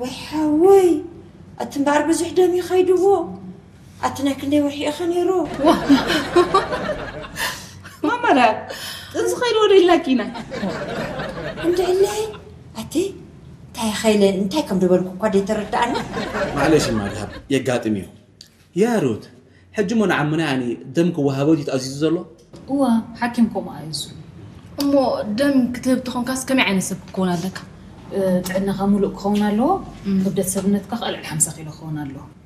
ወይ ሓወይ፣ ኣቲ እምበኣር ብዙሕ ደም ይኸይድዎ። ኣቲ ናይ ክንደይ ወርሒ ኢኸ ነይሩ? ማማራ ጥንሲ ኸይድዎ ዶ ኢላኪና? እንድዕለይ ኣቲ እንታይ ኸይለ እንታይ ከም ዝበልኩ እኳ ደይተረዳኣኒ። ማዕለሽ ማድሃብ የጋጥም እዩ። ያ ሩት፣ ሕጂ እሞ ንዓምና ያኒ ደም ክወሃቦ ድዩ ተኣዚዙ ዘሎ? እዋ፣ ሓኪም ከምኡ ኣዚዙ። እሞ ደም ክትህብ ተኾንካስ ከመይ ዓይነት ሰብ ክትከውን ኣለካ? ጥዕናኻ ሙሉእ ክኸውን ኣለዎ። ክብደት ሰብነትካ ከዓ ልዕሊ ሓምሳ ኪሎ ክኸውን ኣለዎ።